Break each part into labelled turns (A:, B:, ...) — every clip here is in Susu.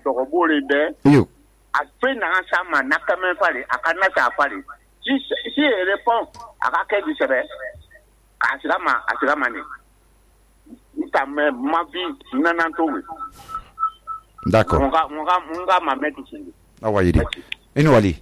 A: dogobore be
B: yo
A: a fe na sama na kamen fare akana sa fare si répond aka ke di sebe ka asirama ne nta ma vie nanan to we
B: d'accord
A: munga ma mettre sindi
B: awayidi ino wali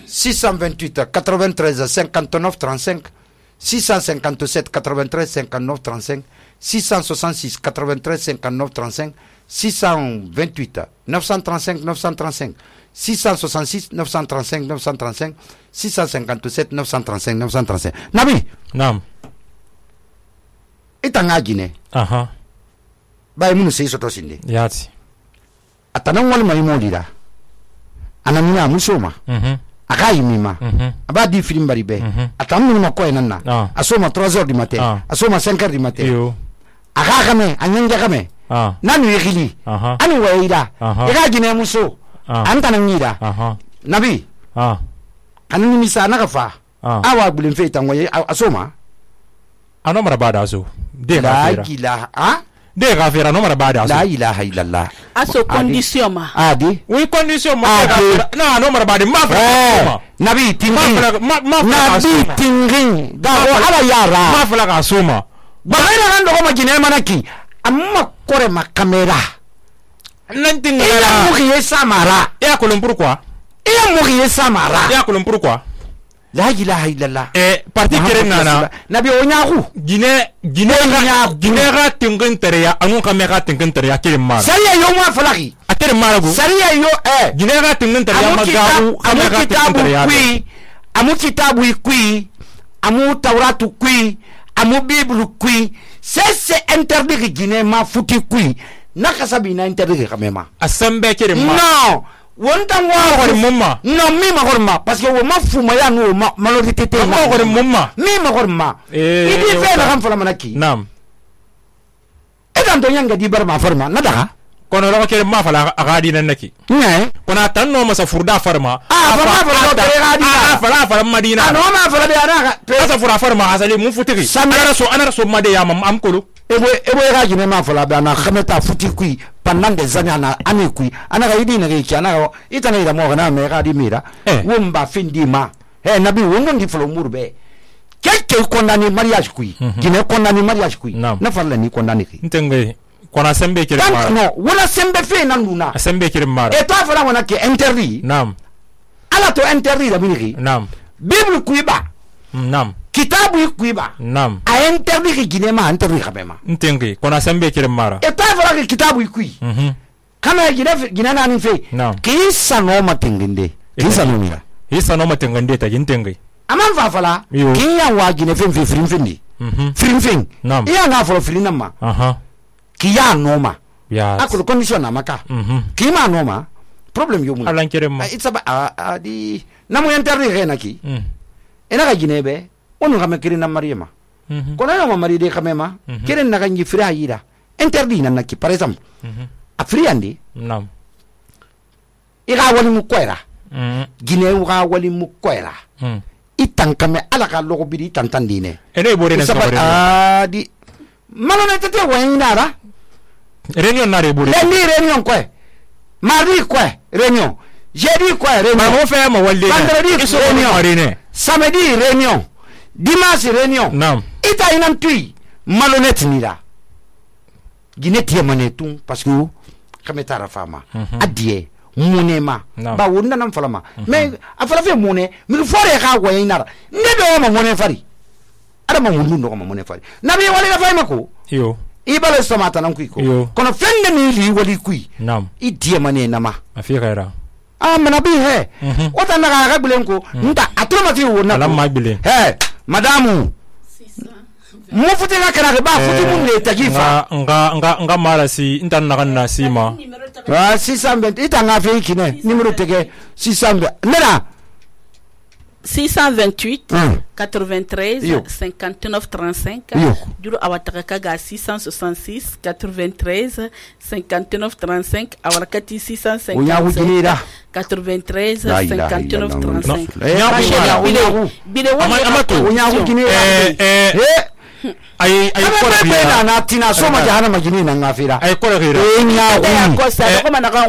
B: 628 93 59 35 657 93 59 35 666 93 59 35 628 935 935 666 935 935 657 935 935 Nabi
C: naam
B: itanga Guinée bay munu sey soto sinde
C: yati
B: atanan wal mai modira anamina musoma aka yimima aba di film bari be atamu ma ko enanna asoma 3h du matin asoma 5h du matin
C: yo
B: aka kame anyanja kame nanu yigili ani waida ira Guinée muso anta nan yida nabi anani misa na kafa awa bulin fe tanwaye asoma
C: ano mara bada aso de
B: la
C: gafira
B: ilaha
C: de gafira no mara bada aso
B: la ilaha illallah
D: aso condition ma
B: adi
C: oui condition ma no mara bada ma fa
B: nabi tingin
C: ma
B: nabi tingin da ko ala yara
C: ma fa la ka soma
B: ba ina nan do ma Guinée manaki amma kore ma kamera
C: nan tingin
B: ila mugi samara
C: ya kolon pourquoi
B: ila mugi samara
C: ya kolon pourquoi
B: la ilaha illallah
C: parti kere nana
B: nabi onyaku
C: Guinée ga tingin tereya anu ka me ga tingin tereya kere mara
B: sariya yo ma falaki
C: atere mara go
B: sariya yo
C: Guinée ga tingin tereya ma ga
B: amu kitabu kui amu kitabu kui amu tauratu kui amu bible kui c'est interdit Guinée ma futi kui nakasabi na interdit kamema
C: asembe kere mara
B: non wontan wa
C: ko mumma
B: non mi ma gorma parce que wo ma fuma ya no ma malorité te
C: ma ko mumma
B: mi ma gorma idi fe na kan fala manaki
C: nam
B: edan to yanga di bar ma farma na daga
C: kono ro kere ma fala agadi nan naki
B: ne
C: kono tanno masa furda farma fala madina
B: no ma fala de ana
C: asa fura farma asali mun futiki ana so made ya mam amkolo
B: ebo ga Guinée ma fala ba na khameta futi kui pendant des années na ami kui ana ga yidi na ga kiana itana ida mo na me ga di mira wumba findi ma nabi wongo ndi folo murbe keke condamné mariage kui Guinée condamné mariage kui na fala ni condamné ki
C: ntenge kona sembe kire
B: mara no wala sembe fe nan luna
C: sembe kire mara
B: e to fala wana ke interdit
C: nam
B: ala to interdit da biniki
C: nam
B: bible kui ba
C: nam
B: kitabu kui ba
C: nam
B: a interdit ki Guinée ma interdit kabema
C: ntenge kona sembe kire mara
B: e to fala ke kitabu kui kama Guinée na ni fe ki sano matengende ki sano mira
C: isa no matengende ta ntenge
B: aman fa fala ki ya wa Guinée fe frim fendi frim fing iya na folo filina ma ki ya noma
C: ya
B: akulu condition na maka ki ma noma problem yo mun
C: alan kire ma
B: it's about di namu interdit rena ki ina ga Guinée be onu ga me kire na mariama kono no mari de kamema kire na ga ngi fira yida interdit na ki par exemple afriandi
C: nam
B: ira wali mu kwera Guinée wa wali mu kwera itankame ala ka logo bidi tantandine
C: ene bore na
B: sabare di malone tete wainara
C: réunion na re bore
B: ni réunion quoi mardi quoi réunion jeudi quoi réunion
C: ma mo fe ma walde
B: vendredi réunion samedi réunion dimanche réunion
C: nam
B: ita inam tui malhonnête ni la Guinée tie mané tout parce que kameta ra fama adie monema ba wonna nam falama mais afala fe moné mi fore ka waye nara ndebe ma moné fari ada ma wonnu no ma moné fari nabi wali ga fay mako
C: yo
B: ibale somata nan kuiko kono fende ni li wali kui
C: nam
B: idie mané nama
C: afika era
B: manabi he wata na ga bilen ko nta atoma ti wonna
C: ala ma bilen
B: madamu mu futi na kana ba futi mun le tagifa
C: nga mara si intan na kan sima
B: 620 itanga fe kine numéro tege 600 nena
D: 628 93 59 35 duro awataka kaga 666 93 59 35 awarakati 650 93 59 35 bile wani
C: amato ay ko
B: na tina soma jahana majini na ngafira
C: ay ko
B: nya
D: ko sa ko manaka